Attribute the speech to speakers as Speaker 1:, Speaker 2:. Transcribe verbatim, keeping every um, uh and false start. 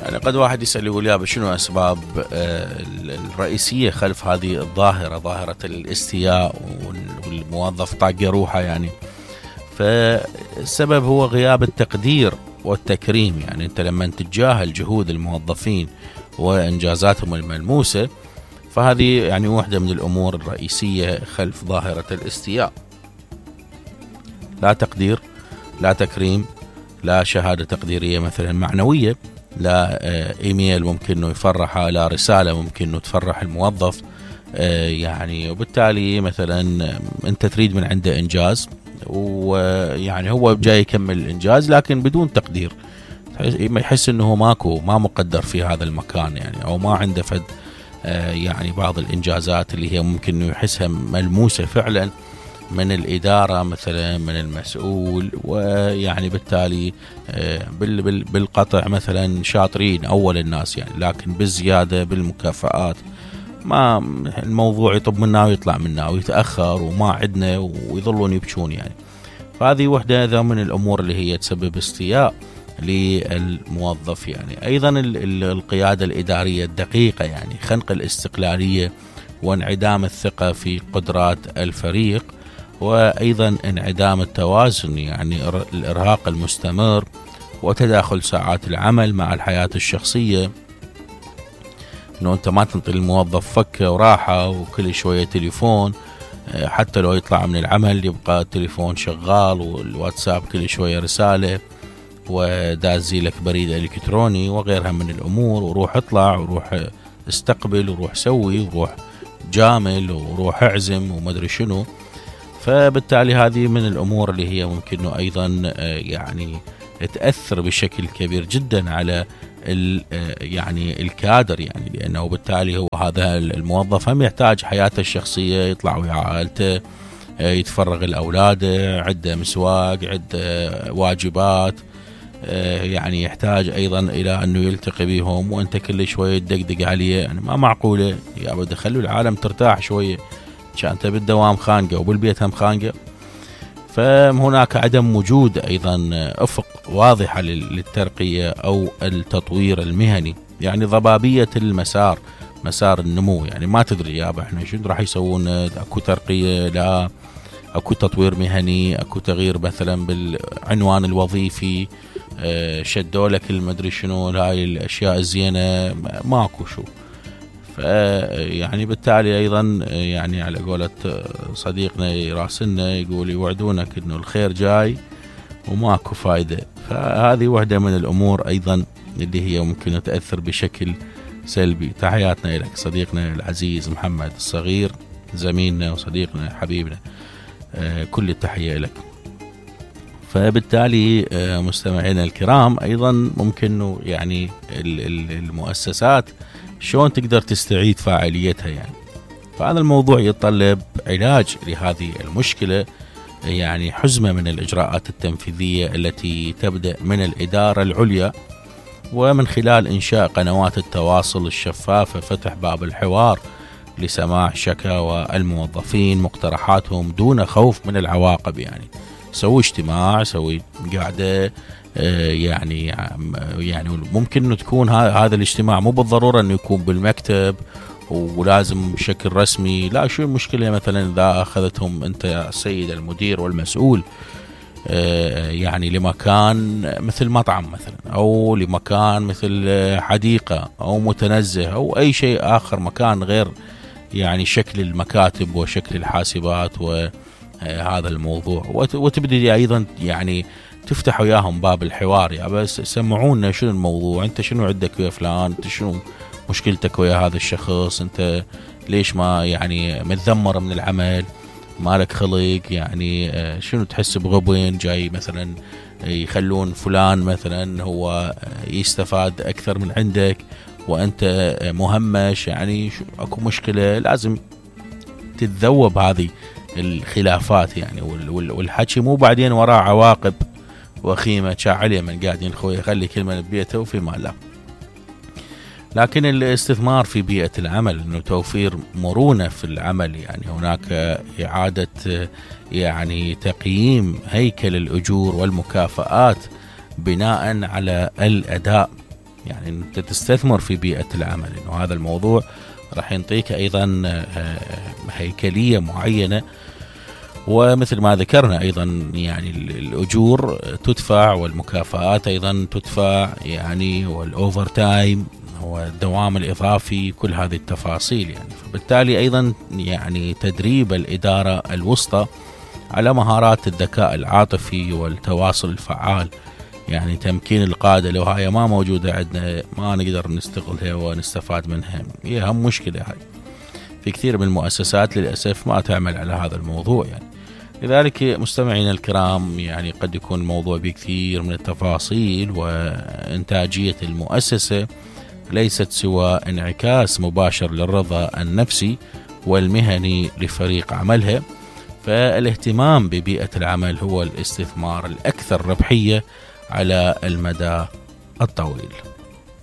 Speaker 1: يعني قد واحد يسأل يقول يا شنو أسباب الرئيسية خلف هذه الظاهرة، ظاهرة الاستياء والموظف طاق روحه يعني. فالسبب هو غياب التقدير والتكريم. يعني أنت لما تتجاهل جهود الموظفين وإنجازاتهم الملموسة، فهذه يعني واحدة من الأمور الرئيسية خلف ظاهرة الاستياء. لا تقدير، لا تكريم، لا شهادة تقديرية مثلا معنوية، لا إيميل ممكن أنه يفرحها، لا رسالة ممكن أنه تفرح الموظف يعني. وبالتالي مثلا أنت تريد من عنده إنجاز، ويعني هو جاي يكمل الإنجاز لكن بدون تقدير، يحس أنه ماكو ما مقدر في هذا المكان يعني، أو ما عنده فد يعني بعض الإنجازات اللي هي ممكن أنه يحسها ملموسة فعلا من الإدارة مثلا، من المسؤول. ويعني بالتالي بالقطع مثلا شاطرين أول الناس يعني، لكن بالزيادة بالمكافآت ما الموضوع يطب منا ويطلع منا ويتأخر وما عدنا ويظلون يبكون يعني. فهذه وحدة ذا من الأمور اللي هي تسبب استياء للموظف يعني. أيضا القيادة الإدارية الدقيقة يعني، خنق الاستقلالية وانعدام الثقة في قدرات الفريق، وأيضا انعدام التوازن يعني الإرهاق المستمر وتداخل ساعات العمل مع الحياة الشخصية، أنه أنت ما تنطي الموظف فكة وراحة وكل شوية تليفون، حتى لو يطلع من العمل يبقى التليفون شغال والواتساب كل شوية رسالة ودازي لك بريد إلكتروني وغيرها من الأمور، وروح اطلع وروح استقبل وروح سوي وروح جامل وروح اعزم ومدري شنو. فبالتالي هذه من الأمور اللي هي ممكن أنه أيضا يعني تأثر بشكل كبير جدا على يعني الكادر يعني، لأنه بالتالي هو هذا الموظف هم يحتاج حياته الشخصية، يطلع ويا عائلته، يتفرغ الأولاد، عنده مسواق، عنده واجبات، يعني يحتاج أيضا إلى أنه يلتقي بهم، وأنت كل شوية تدقدق عليه يعني. ما معقولة يا بدي خلوا العالم ترتاح شوية، كانت بالدوام خانقة وبالبيت هم خانقة. فهناك عدم وجود أيضا أفق واضحة للترقية أو التطوير المهني، يعني ضبابية المسار، مسار النمو يعني. ما تدري يابا احنا شو راح يسوون، اكو ترقية، لا اكو تطوير مهني، اكو تغيير مثلا بالعنوان الوظيفي، شدوا لك المدري شنو هاي الاشياء الزينة، ماكو شو. يعني بالتالي أيضا يعني على قولة صديقنا يراسلنا يقول يوعدونك إنه الخير جاي وماكو فايدة. فهذه واحدة من الأمور أيضا اللي هي ممكن تأثر بشكل سلبي. تحياتنا لك صديقنا العزيز محمد الصغير، زميلنا وصديقنا حبيبنا، كل التحية لك. فبالتالي مستمعينا الكرام أيضا ممكن يعني المؤسسات شلون تقدر تستعيد فاعليتها يعني. فهذا الموضوع يتطلب علاج لهذه المشكلة، يعني حزمة من الإجراءات التنفيذية التي تبدأ من الإدارة العليا، ومن خلال إنشاء قنوات التواصل الشفافة، فتح باب الحوار لسماع شكاوى الموظفين، مقترحاتهم دون خوف من العواقب يعني. سوي اجتماع، سوي قاعدة يعني يعني ممكن انه تكون هذا الاجتماع مو بالضرورة انه يكون بالمكتب ولازم بشكل رسمي، لا شو المشكلة مثلا اذا اخذتهم انت يا السيد المدير والمسؤول يعني لمكان مثل مطعم مثلا، او لمكان مثل حديقة او متنزه او اي شيء اخر، مكان غير يعني شكل المكاتب وشكل الحاسبات وهذا الموضوع. وتبدي ايضا يعني تفتح وياهم باب الحوار، يا بس سمعونا شنو الموضوع، انت شنو عندك ويا فلان، انت شنو مشكلتك ويا هذا الشخص، انت ليش ما يعني متذمر من العمل، مالك خلق يعني، شنو تحس بغبن جاي مثلا يخلون فلان مثلا هو يستفاد اكثر من عندك وانت مهمش يعني. اكو مشكلة لازم تتذوب هذه الخلافات يعني، والحكي مو بعدين وراء عواقب وخيمة شاعلية من قاعدين خوي يخلي كلمة ببيته وفي ما لا. لكن الاستثمار في بيئة العمل، انه توفير مرونة في العمل يعني، هناك إعادة يعني تقييم هيكل الأجور والمكافآت بناء على الأداء، يعني أنت تستثمر في بيئة العمل، إنه هذا الموضوع راح ينطيك أيضا هيكلية معينة. ومثل ما ذكرنا أيضا يعني الأجور تدفع والمكافآت أيضا تدفع، يعني والأوفر تايم والدوام الإضافي، كل هذه التفاصيل يعني. فبالتالي أيضا يعني تدريب الإدارة الوسطى على مهارات الذكاء العاطفي والتواصل الفعال، يعني تمكين القادة لو هاي ما موجودة عندنا ما نقدر نستغلها ونستفاد منها، هي أهم مشكلة هاي. في كثير من المؤسسات للأسف ما تعمل على هذا الموضوع يعني. لذلك مستمعينا الكرام، يعني قد يكون الموضوع بكثير من التفاصيل، وإنتاجية المؤسسة ليست سوى انعكاس مباشر للرضا النفسي والمهني لفريق عملها. فالاهتمام ببيئة العمل هو الاستثمار الأكثر ربحية على المدى الطويل.